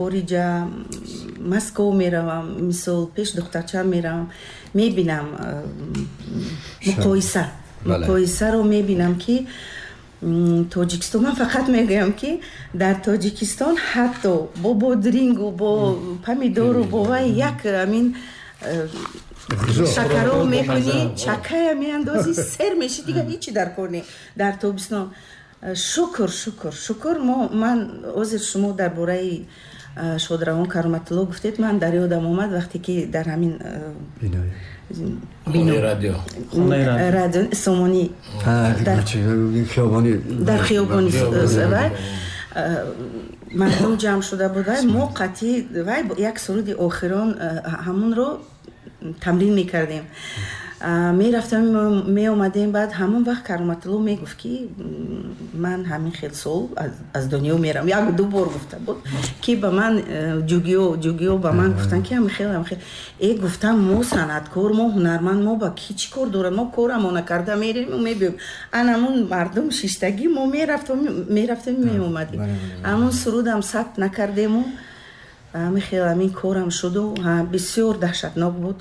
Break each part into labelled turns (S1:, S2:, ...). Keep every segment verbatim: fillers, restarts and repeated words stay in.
S1: Хориҷа, Москов меравам, мисол, пеш духтарчаам меравам, мебинам муқоиса, муқоисаро мебинам, ки Тоҷикистон, ман фақат мегӯям, ки дар Тоҷикистон ҳатто бо бодрингу, бо помидору, бо вай як амин шакаро мекунӣ, чакая меандозӣ, сер меши, дигар ҳичи дар кор не. Дар тобистон, шукр, шукр, шукр. Мо, ман ҳозир шумо дар бораи шодравон Кароматулло гуфтед, ман дар ёдам омад, вақте ки дар ҳамин
S2: радио
S1: радио Сомонӣ дар хиёбони вай мардум ҷамъ шуда буд, вай мо қатъи вай як суруди охирон ҳамонро тамрин мекардем, мерафтем, меомадем. Баъд ҳамон вақт Кароматулло мегуфт, ки ман ҳамин хел сол аз дунё мерам. Як ду бор гуфта буд, ки ба ман э, ҷугиё ҷугиё ба ман гуфтанд, ки ҳамин хел, ҳамин хел. Э, гуфтам, мо санъаткор, мо ҳунарманд, мо ба ки чӣ кор дорад? Мо корамона карда мерем, мебиём. Анамун мардум шиштагӣ, мо мерафтем, мерафтем, меомадем. Ҳамон сурудам сабт накардему, ҳамин хел ҳамин корам шуду. Бисёр даҳшатнок буд,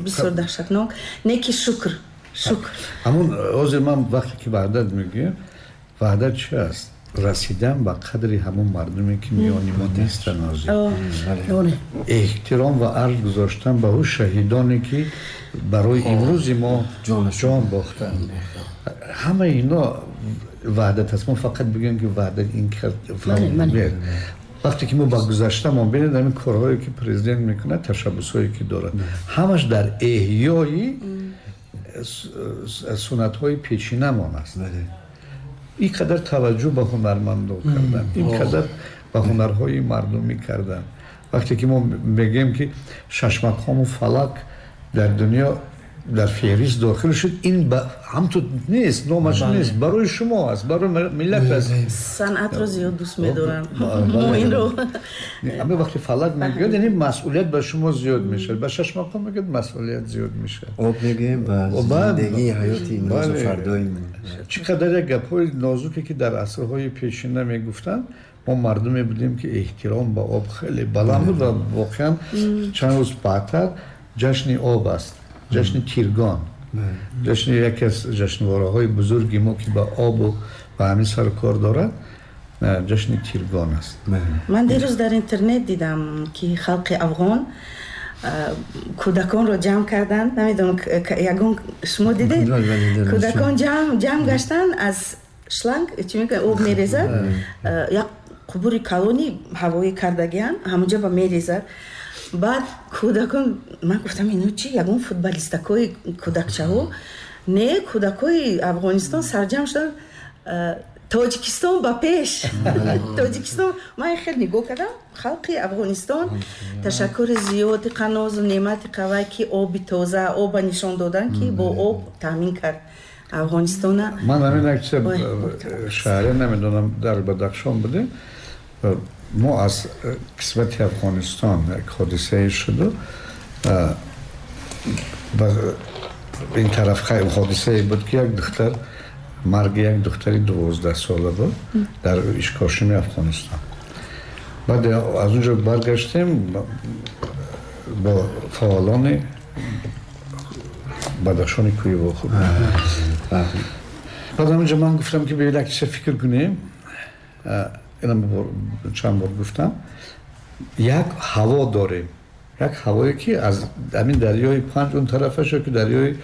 S1: бисёр даҳшатнок, не ки шукр, шукр.
S3: Ҳамун ҳозир ман вақте ки ваҳдат мегӯям, ваҳдат чи аст? Расидан ба қадри ҳамон мардуме, ки миёни мо нестанд ҳозир, эҳтиром ва арҷ гузоштан ба ӯ шаҳидоне, ки барои имрӯзи мо ҷон бохтанд. Ҳамаи ино ваҳдат аст. Мо фақат бигӯем, ки ваҳдат ин кард. Вақте ки мо ба гузаштамон бинед, ҳамин корҳое, ки президент мекунад, ташаббусҳое, ки дорад, ҳамаш дар эҳёи суннатҳои пешинамон аст. Ин қадар таваҷҷӯҳ ба ҳунармандо кардан, ин қадар ба ҳунарҳои мардумӣ кардан. Вақте ки мо мегӯем, ки шашмақому фалак дар дунё дар феҳрист дохил шуд, ин ҳамту нест, номаш нест, барои шумо аст, барои миллат аст.
S1: Санъатро зиёд дӯст медорам, мо инро
S3: Ама вақте фалак мегӯяд, яъне масъулият ба шумо зиёд мешавад, ба шашмақом мегӯяд, масъулият зиёд мешавад.
S4: Об мегӯем, ба зиндагии ҳаёти имрӯзу фардои.
S3: Чӣ қадар як гапҳои нозуке, ки дар асрҳои пешина мегуфтанд. Мо мардуме будем, ки эҳтиром ба об хеле баланд буд ва воқеан чанд рӯз баъдтар ҷашни об аст, ҷашни Тиргон, ҷашни яке аз ҷашнвораҳои бузурги мо, ки ба обу ба ҳамин сару кор дорад, ҷашни Тиргон аст.
S1: Ман дирӯз дар интернет дидам, ки халқи афғон кӯдаконро ҷамъ карданд. Намедонам, ягон шумо дидед? Кӯдакон ҷамъ гаштанд, аз шланг чӣ мекунад, об мерезад, як қубури калони ҳавоӣ кардагианд, ҳамонҷа ба мерезад. Баъд кӯдакон, ман гуфтам, ино чи, ягон футболистакои кӯдакчаҳо? Не, кӯдакои Афғонистон сарҷамъ шуданд: «Тоҷикистон ба пеш, Тоҷикистон!» Ман хел нигоҳ кардам, халқи Афғонистон, ташаккури зиёди қанозу неъмати қавай, ки оби тоза, оба нишон додан, ки бо об таъмин кард Афғонистона.
S3: Ман ҳамин як чиз шаҳре намедонам, дар Бадахшон будем, мо аз қисмати Афғонистон як ҳодисае шуду, ин тараф ҳодисае буд, ки як духтар, марги як духтари дувоздаҳсола буд дар Ишкошими Афғонистон. Баъд аз унҷо баргаштем, бо фаъолони Бадахшони кӯҳӣ вохӯрдем. Баъд ҳаминҷо ман гуфтам, ки биёед, як чиза фикр кунем. Инам чанд бор гуфтам, як ҳаво дорем, як ҳавое, ки аз ҳамин дарёи Панҷ он тарафаш ё ки дарёи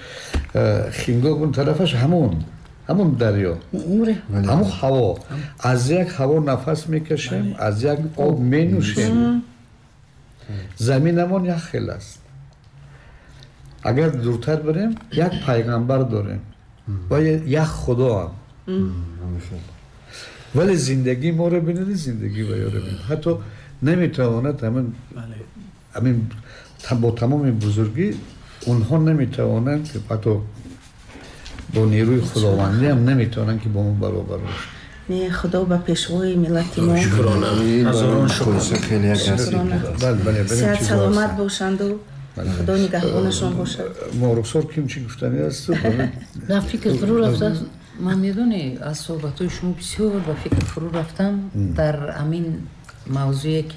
S3: Хингоб он тарафаш, ҳамон ҳамон дарё, ҳамон ҳаво, аз як ҳаво нафас мекашем, аз як об менӯшем, заминамон як хел аст. Агар дуртар барем, як пайғамбар дорем ва як худоам. Вале зиндагии моро бинед, зиндагии ваёро бинед, ҳатто наметавонад ҳамин ҳамин бо тамоми бузургӣ онҳо наметавонанд, ки ҳатто бо нерӯи худовандӣ ҳам наметавонанд, ки бо мо баробар бошанд.
S1: Не, худо ба пешвои миллати мо сиҳат саломат бошанду худо нигаҳбонашон бошад.
S3: Моруксор, ким чӣ гуфтанӣ аст?
S5: На, фикр фурӯ рафтааст. Ман, медонӣ, аз суҳбатҳои шумо бисёр ба фикр фурӯ рафтам. Дар ҳамин Мавзӯе ки